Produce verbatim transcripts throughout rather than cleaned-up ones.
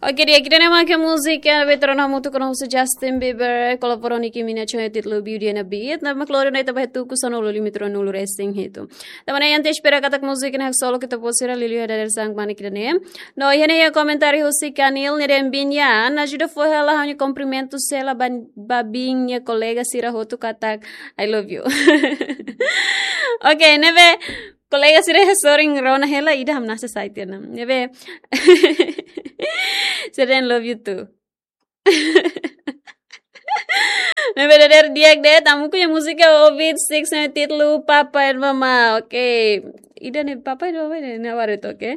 Oke, di'ak, ida-ne'e mak múzika ne'ebé ita rona hamutuk ona husi Justin Bieber, kolabora ho Nicki Minaj, ho títulu Beauty and the Beast. Ne'e mak lori ona ita ba tuku sanulu-resin-hitu. Tanba ne'e, ita espera katak múzika ne'e haksolok ita-boot sira, liuliu iha dadeer-saan kmanek ida-ne'e. No iha ne'e iha komentáriu husi Kanil, nia dehan: "Biin, ajuda fó hela ha'u-nia kumprimentu sira ba, ba biin nia kolega sira hotu katak I love you." Oke, ne'ebé kolega sira hasorin rona hela, ida hamnasa sai tiha ona. Ne'ebé sira dehan love you too. Ne'ebé dadeer di'ak de'it, hamutuk iha múzika Orbit Six ne'ebé títulu Papa and Mama. Oke. Ida-ne'e Papa and Mama ne'e, ne'e baru itu, oke.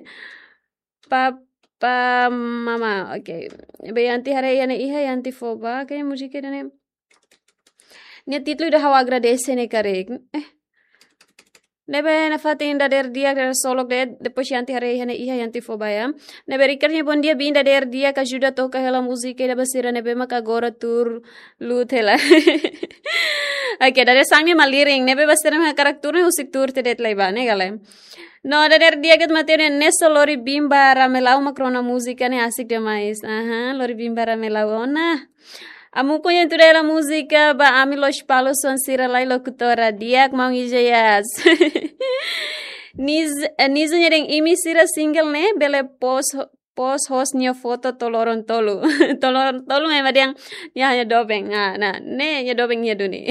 Papa Mama, oke. Ne'ebé Yanti haree iha ne'e iha, Yanti fó ba, oke, múzika ida-ne'e. Nia títulu ida Ha'u Agradese ne'e karik. Eh. Ne'ebé nafatin dadeer di'ak, dadeer solok de'it, depois Yanti haree iha ne'e iha, Yanti fó ba ya. Ne'ebé Ricard nia: "Bom dia, biin, dadeer di'ak, ajuda toka hela múzika ida ba sira ne'ebé mak agora tuur lut hela." Oke, dadeer-saan ne'e malirin, ne'ebé ba sira ne'ebé hakarak tuur ne'e husik tuur tiha de'it lai ba, ne'e ka lae. No dadeer di'ak de'it Mateo nia: "Neso, lori biin ba Ramelau mak rona múzika ne'e, asik demais." Aha, lori biin ba Ramelau ona. Hamutuk iha tuda hela múzika ba ami Lospalos, son sira lai lokutora di'ak, maun Ijayas. Niz, eh, Niza nia dehan: "Imi sira single ne'e, bele post ho-, post host nia foto to'o loron tolu." To'o loron tolu ema dehan nia hanya doben. Ah, nah, ne'e nia doben iha duni.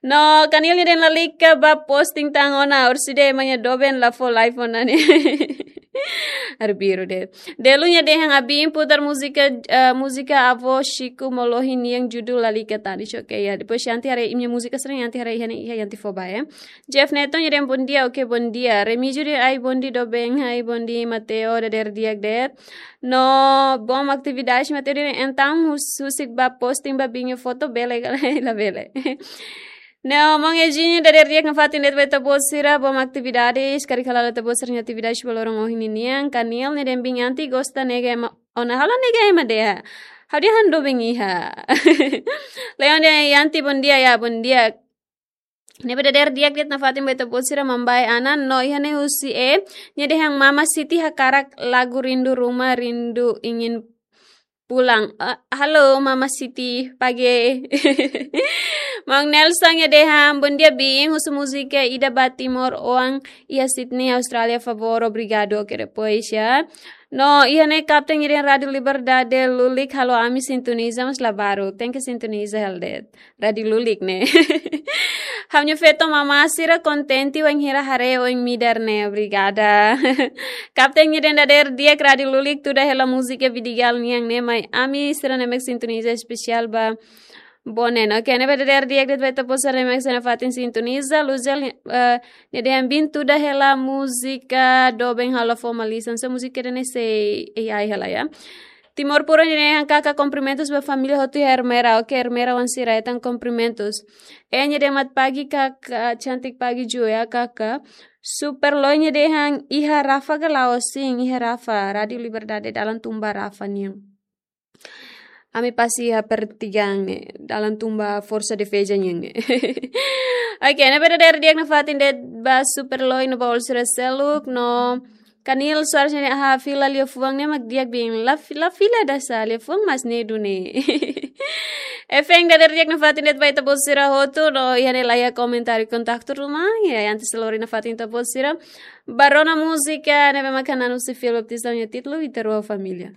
No Kanil nia dehan: "Lalika ba posting tan ona, orsida ema nia doben la fó live ona ne'e." Arbiru de'it. Delu nia dehan: "Biin, putar múzika, eh, múzika Avó Chico Molohi nian, judul Lalika Tanis." Oke, ya. Depois Yanti haree imi-nia múzika sira, Yanti haree iha ne'e iha, Yanti fó ba ya. Jeff Neto nia dehan: "Bom dia, oke, bom dia." Remígio dehan: "Ai, bom dia, doben, ai, bom dia, Mateo, dadeer di'ak de'it." No bom atividade, Mateo dehan: "Entaun hus-, husik ba posting ba biin nia foto, bele ka lae?" Labele. No maun Eugênio: "Dadeer di'ak nafatin de'it ba ita-boot sira, bom atividade, karik hala'o ita-boot sira-nia atividade ba loron ohin ninian." Kanil nia dehan: "Biin, Yanti gosta nega ema ona, halo nega ema de'it. Ha'u dehan doben iha." Leon dehan: "Yanti, bom dia, ya, bom dia." Ne'ebé dadeer di'ak de'it nafatin ba ita-boot sira, Mambai Anan. No iha ne'e husi E, nia dehan: "Mama Siti hakarak lagu Rindu Rumah, Rindu Ingin Pulang." Ah, halo Mama Siti, pagi. Maun Nelson nia dehan: "Bom dia, biin, husu múzika ida ba Timor oan iha Sydney, Austrália, favór, obrigadu." Oke, depois ya. No iha ne'e Kapten nia dehan: "Rádio Liberdade lulik halo ami sintoniza, mas la baruk. Tenke sintoniza hela de'it." Rádio lulik ne'e. "Ha'u-nia feto mama sira kontente wainhira haree oin midar ne'e. Obrigada." Kapten nia dehan: "Dadeer di'ak, rádio lulik, tuda hela múzika Vidigal nian ne'e, mai ami sira ne'ebé sintoniza, espesiál ba Bonen." Oke, ne'ebé dadeer di'ak de'it ba ita-boot sira ne'ebé nafatin sintoniza. Luzel, eh, nia dehan: "Biin, tuda hela múzika doben halo formalizasaun." So múzika ida-ne'e sei A I hela ya. Timor Puro nia dehan: "Kaka, kumprimentus ba família hotu iha Ermera." Oke, Ermera oan sira hetan kumprimentus. E nia dehan: "Mat pagi, kaka, cantik pagi ju ya, kaka." Super Loi nia dehan: "Iha Rafa ka lae?" Sin, iha Rafa, Rádio Liberdade dalan tun ba Rafa nian. Ami pasa iha pertigaan ne'e, dalan tun ba Forsa Defeza nian ne'e. Oke, ne'ebé dadeer di'ak nafatin de'it ba Super Loi no ba all sira seluk. No Kanil Soares nia dehan: "Aha, fila liafuan ne'e mak di'ak, biin. La fi-, la fila dasa, liafuan mas ne'e duni." Efeng, dadeer di'ak nafatin de'it ba ita-boot sira hotu. No iha ne'e laiha komentáriu, kontaktu ruma. Ya, Yanti sei lori nafatin ita-boot sira ba rona múzika ne'ebé mak hanan husi Fiel Baptista nia títulu Ita Rua Família.